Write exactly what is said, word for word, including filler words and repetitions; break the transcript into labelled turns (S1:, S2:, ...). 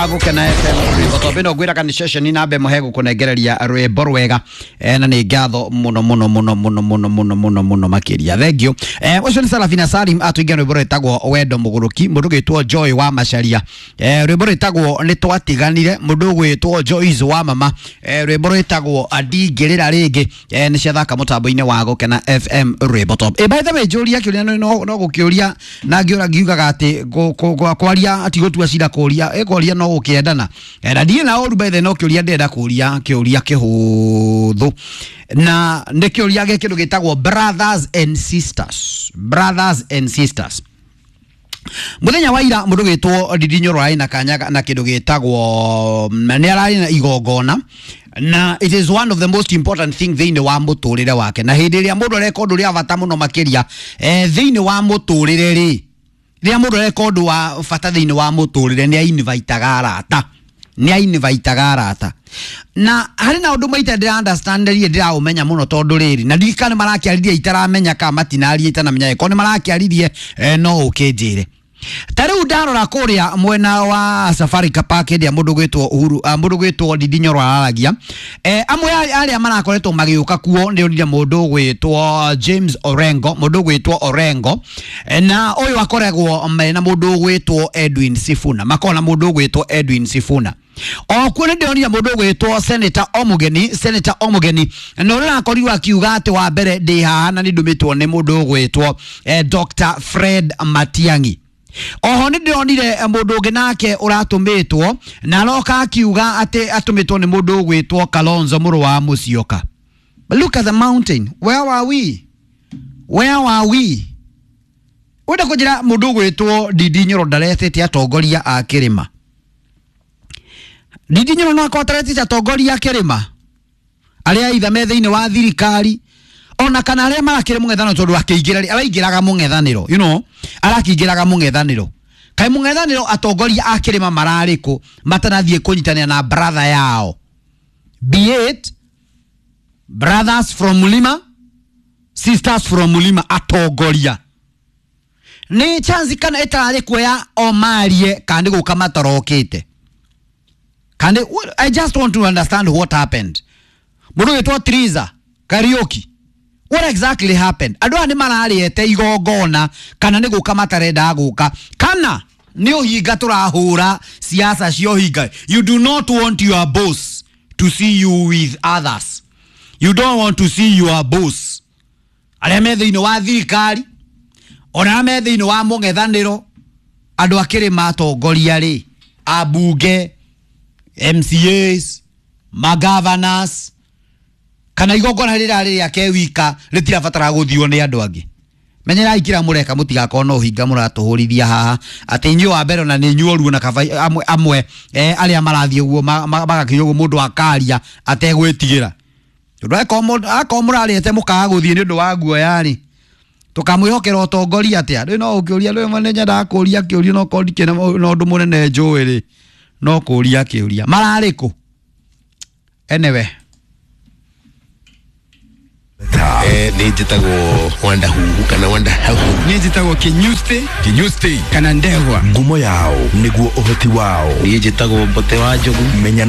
S1: wa Gukena F M. Gotombe no ngwira kana session na mbe muhe gukunengereria rwimbo rwega eh, na nĩ ngatho muno muno muno muno muno muno muno muno makiria. Thank you. Eh, ucio nĩ Sarafina Salim atwingia rwimbo rwĩtagwo Wendo Mũgũrũki, mũndũ gwĩtwo Joy wa Macharia. Eh, rwimbo rwĩtagwo Nĩ Twatiganire, mũndũ gwĩtwo Joyce wa Mama. Eh, rwimbo rwĩtagwo Ndingĩrĩra Rĩngĩ. Eh, nĩ ciathaka mũtambo-inĩ wa Gukena F M rwimbo top. Eh, by the way, njũria kĩũria no no gũkĩũria na ngĩũra ngiugaga atĩ kwaria ati gũtua cira kũria ĩkũria no gũkĩendana. Eh, na ndiĩ na ũru by the no kĩũria ndĩrenda kũria kĩũria kĩhũthũ na nĩ kĩũria gĩa kĩndũ gĩtagwo brothers and sisters, brothers and sisters. Muthenya wa ira mundu gwitwo Ndindi Nyoro arĩ na kanya na kindu gitagwo nĩ ararĩ na igongona, na it is one of the most important thing thĩinĩ wa mũtũrĩre wake, na hĩndĩ ĩrĩa mũndũ areka ũndũ ũrĩa bata mũno makĩria eh, thĩinĩ wa mũtũrĩre rĩ, rĩrĩa mũndũ areka ũndũ wa bata thĩinĩ wa mũtũrĩre nĩ ainvitaga arata, nĩ ainvitaga arata. Na harĩ na ũndũ maita ndĩra understand rĩrĩa ndĩraũmenya mũno tondũ rĩrĩ na ndirikane marakĩaririe itaramenya kana matinaria itanamenya ĩkorwo nĩ marakĩaririe eh, no ũkĩnjĩre. Ta rĩu ndarora kũrĩa mwena wa Safari Park ĩrĩa mũndũ gwĩtwo Uhuru uh, mũndũ gwĩtwo Ndindi Nyoro araragia eh, amwe arĩa marakoretwo magĩũka kuo nĩ onire mũndũ gwĩtwo James Orengo, mũndũ gwĩtwo Orengo eh, na ũyũ akoragwo na mũndũ gwĩtwo Edwin Sifuna, makona mũndũ gwĩtwo Edwin Sifuna. O kuo nĩ ndĩronire mũndũ gwĩtwo Senator Omugeni, Senator Omugeni na ũrĩa akorirwo akiuga atĩ wa mbere ndĩ haha na nĩ ndũmĩtwo nĩ mũndũ gwĩtwo eh, Doctor Fred Matiang'i. Oho nĩ ndĩronire mũndũ ũngĩ nake ũratũmĩtwo na aroka akiuga atĩ atũmĩtwo nĩ mũndũ ũgwĩtwo Kalonzo mũrũ wa Musyoka. But look at the mountain. Where are we? Where are we? Wenda kũnjĩra mũndũ ũgwĩtwo Ndindi Nyoro ndaretete atongoria a kĩrĩma. Ndindi Nyoro no akorwo ataretete atongoria a kĩrĩma arĩa itha me thĩinĩ wa thirikari ona kana arĩa marakĩrĩ mũng'ethanĩro tondũ akĩingĩra araingĩraga mũng'ethanĩro, you know, arakĩingĩraga mũng'ethanĩro. Kaĩ mũng'ethanĩro atongoria a kĩrĩma mararĩ kũ matanathiĩ kũnyitanĩra na brother yao, be it brothers from Mulima, sisters from Mulima, atongoria nĩ chance kana ĩtararĩ kuoya o marie kana nĩ gũka matarokĩte. Kana I just want to understand what happened. Mũndũ wĩtwo Triza Kariuki, what exactly happened? Andũ aya nĩ mararĩete igongona kana nĩ gũka matarenda gũka kana nĩ ũhinga tũrahũra siasa cia ũhinga. You do not want your boss to see you with others. You don't want to see your boss arĩa me thĩinĩ wa thirikari ona arĩa me thĩinĩ wa mũng'ethanĩro, andũ a kĩrĩma atongoria rĩ, ambunge, M C As, magovernors, kana igongona rĩrĩa rĩake wika rĩtirabatara gũthio nĩ andũ angĩ. Menyerai kĩrĩa mũreka mũtigakorwo na ũhinga mũratũhũrithia haha atĩ inyuĩ wa mbere ona nĩ inyuĩ ũruo na kaba amwe, amwe eh, arĩa marathiĩ ũguo magakinya ũguo mũndũ akaria ategwĩtigĩra. Tondũ akorwo mũrarĩte mũkaga gũthiĩ nĩ ũndũ wa guoya rĩ, tũkamwĩhokera ũtongoria atĩa? Rĩu no ũkĩũria rĩu nĩ nyendaga kũria kĩũria no korwo ndikĩrĩ na ũndũ mũnene njũĩ rĩ, no kũria kĩũria mararĩ kũ? Anyway,
S2: eh ni njitagwo Wanda Huhu kana Wanda Huhu,
S3: ni njitagwo Kinyusti,
S2: Kinyusti
S3: kana Ndegwa.
S4: Ngumo yao niguo uhoti wao.
S2: Ni njitagwo Mbote wa Njogu.
S4: Menya